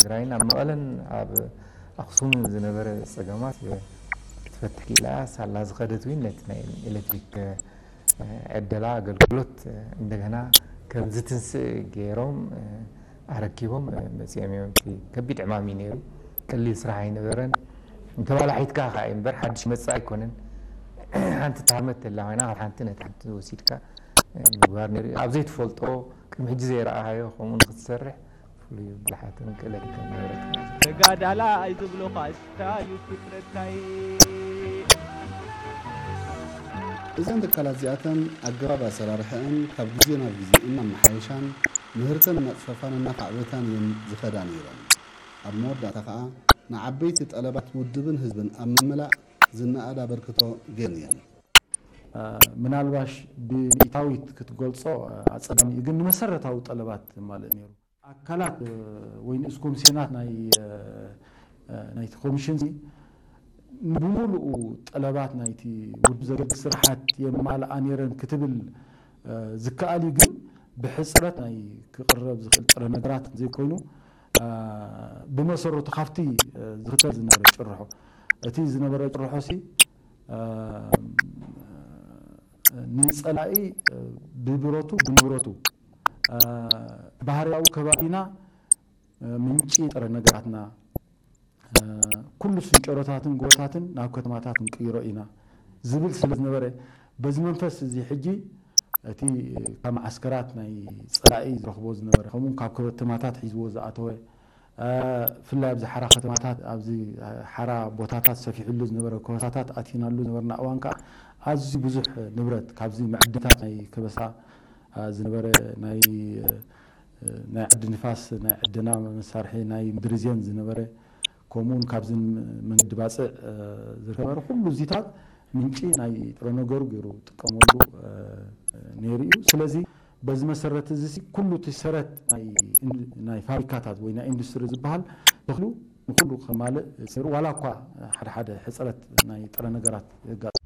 ትግራይን ኣብ መቐለን ኣብ ኣኽሱምን ዝነበረ ፀገማት ክትፈትሕ ክኢላ እያ። ሳላ ዝኸደት እውን ነቲ ናይ ኤሌክትሪክ ዕደላ ኣገልግሎት እንደገና ከም ዝትንስእ ገይሮም ኣረኪቦም መፂኦም እዮም። እቲ ከቢድ ዕማም እዩ ነይሩ። ቀሊል ስራሕ ኣይነበረን። እንተባላሒትካ ከዓ እዩ እምበር ሓድሽ መፃ ኣይኮነን። ሓንቲ ተሃርመት ተላ ኮይና ካብ ሓንቲ ነቲ ሓንቲ ወሲድካ ምግባር ነይሩ። ኣብ ዘይትፈልጦ ቅድሚ ሕጂ ዘይረኣኻዮ ከምኡ ንክትሰርሕ ፍሉይ ብልሓትን ክእለትን ከም ነበረካ። ተጋዳላይ ዝብሉኻ እስታዩ ፍጥረታይ። እዘን ትካላት እዚኣተን ኣገባብ ኣሰራርሐአን ካብ ግዜ ናብ ግዜ እናመሓየሻን ምህርተን እናፅፈፋን እናኻዕበታን እየን ዝኸዳ ነይረን። ኣብ መወዳእታ ከዓ ንዓበይቲ ጠለባት ውድብን ህዝብን ኣብ ምምላእ ዝነኣድ ኣበርክቶ ገይረን እየን። ምናልባሽ ብሚእታዊት ክትገልጾ ኣጸጋሚ እዩ፣ ግን ንመሰረታዊ ጠለባት ዘማልእ ነይሩ። ኣካላት ወይ ንኡስ ኮሚስዮናት ናይ ናይቲ ኮሚሽን ብሙሉኡ ጠለባት ናይቲ ውድብ ዘገልግል ስራሓት የማልኣ ነይረን ክትብል ዝከኣል እዩ፣ ግን ብሕፅረት ናይ ክቕረብ ዝኽእል ጥረ ነገራት ዘይኮይኑ ብመሰረቱ ካብቲ ዝኽተል ዝነበረ ጭርሖ እቲ ዝነበረ ጭርሖ ሲ ንፀላኢ ብብረቱ ብንብረቱ ባህርያዊ ከባቢና ምንጪ ጥረ ነገራትና ኩሉ ስንጨሮታትን ጎቦታትን ናብ ከተማታት ንቅይሮ ኢና ዝብል ስለ ዝነበረ በዚ መንፈስ እዚ ሕጂ እቲ ካብ መዓስከራት ናይ ፀላኢ ዝረኽቦ ዝነበረ ከምኡ ካብ ከተማታት ሒዝዎ ዝኣተወ ብፍላይ ኣብዚ ሓራ ከተማታት ኣብዚ ሓራ ቦታታት ሰፊሕሉ ዝነበረ ከበሳታት ኣቲናሉ ዝነበርና እዋን ከዓ ኣዝዩ ብዙሕ ንብረት ካብዚ መዕድታት ናይ ከበሳ ዝነበረ ናይ ናይ ዓዲ ንፋስ ናይ ዕደና መሳርሒ ናይ ምድርዜን ዝነበረ ከምኡውን ካብዚ መንገዲ ባፅዕ ዝርከበረ ኩሉ እዚታት ምንጪ ናይ ጥረ ነገሩ ገይሩ ጥቀመሉ ነይሩ እዩ። ስለዚ በዚ መሰረት እዚ ኩሉ እቲ ሰረት ናይ ፋብሪካታት ወይ ናይ ኢንዱስትሪ ዝበሃል ተኽሉ ንኩሉ ከማልእ ሰሩ ዋላ እኳ ሓደ ሓደ ሕፅረት ናይ ጥረ ነገራት የጋጥም